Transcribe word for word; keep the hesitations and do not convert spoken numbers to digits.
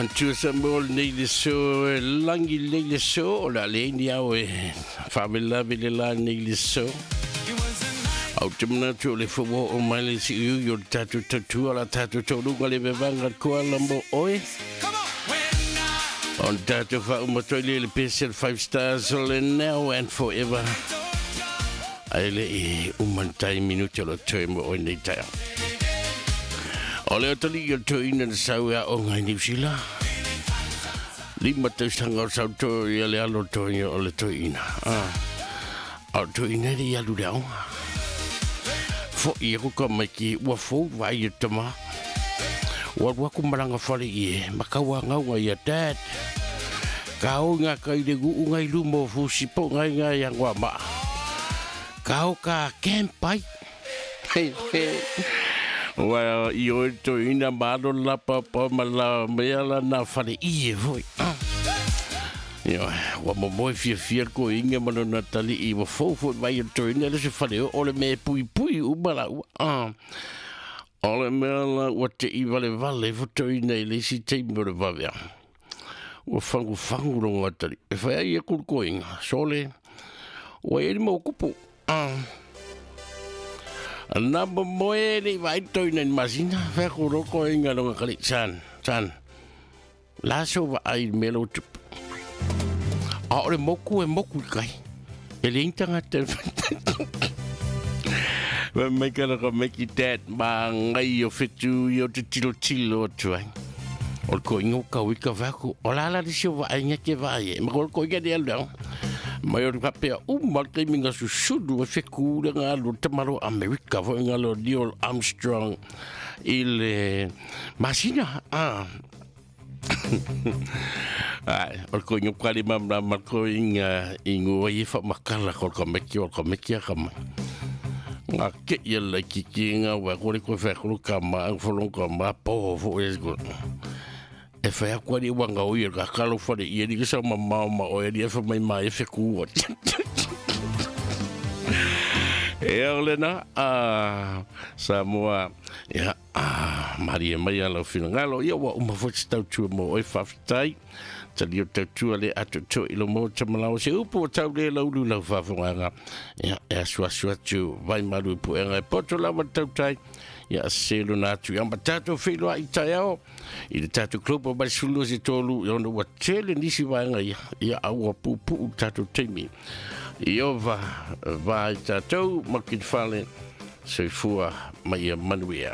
Mantua sa mo nei le so langi nei le so o la le ni au e whawela vele la nei le so. Au te manatu o le fawao o mai le si iu o le tātou tautua la tātou taurunga le vevanga koa la mo oe. On tātou whaumatoa le le P S L five Stars o le now and forever. Ai le i umantai minuti o le toe mo oe nei taia. O le otali o toe ina na sau ea o ngai New Zealand. Lima tausanga o sau toe ia le alo toe o le toe ina. Ah. O toe ina le ialu le aonga. Fo ia kuka mai ki ua fou vai e tama. Ua waku maranga whare i e. Makaua ngaunga ia dad. Ka o ngā kai le guu ngai lumo fusi po ngai ngai angwa ma. Ka o ka kempai. Ua i oi to ina malo la papa ma la mea la na whare i e foi. Ia, ua momoe fia fia ko inga mana na tali i ua fou foi mai o to ina le se whare o le me pui pui uma la ua. Ah. O le mea la ua te i vale vale fo to ina i le isi teimi o le vavea. Ua fangu fangu rongo atali. E whai ai e kuru ko inga. Sole, ua e mo kupu. Ah. Nā momoe le vai toi nei masina, whai kuro ko inga ronga kali. San, san. La so wa ai melo tupu. A ore moku e moku i kai. E le intanga te Wa mai kana ka meki dad ma ngai o whitu i o te tilo tilo atu ai. O le ko ingo ka wika waku. O la la risi o wa ai ngake vai e. Ma ko ko inga ni alu. Mai o kapea uma te minga susulu e wheku le ngā lo tamaro Amerika fo ngā lo Neil Armstrong i le masina. Ah. Ai, o ko ingo kari mamla ma ko inga ingo i fa makala ko ka meki o ka meki ka ma. Ngā ke ia lai ki ki ngā wa kore koe whai koro ka ma ang wholong ka ma po fo e ko. E whai akua ni wanga o ia ka kalo whare ia ni kisa ma mao ma o e ni e wha mai mai e wheku o. E ole na, ah, Samoa, ia, ah, Maria mai ala o whingalo, ia wa uma fo te tautua mo oi whawhitai, tali o tautua le atu to ilo mo tamalao se upu o tau le laulu lau whawhanganga, ia, e asu asu atu, vai maru ipu enga e poto lawa tautai, ia selo na atu, ia ma tātou whiloa i tai ao, i le tātou klupa mai sulu se tolu, ia ona ua tele nisi vaenga ia, ia aua pupu tātou teimi. Iova vai tātou, makit whale, soifua mai ia manuia.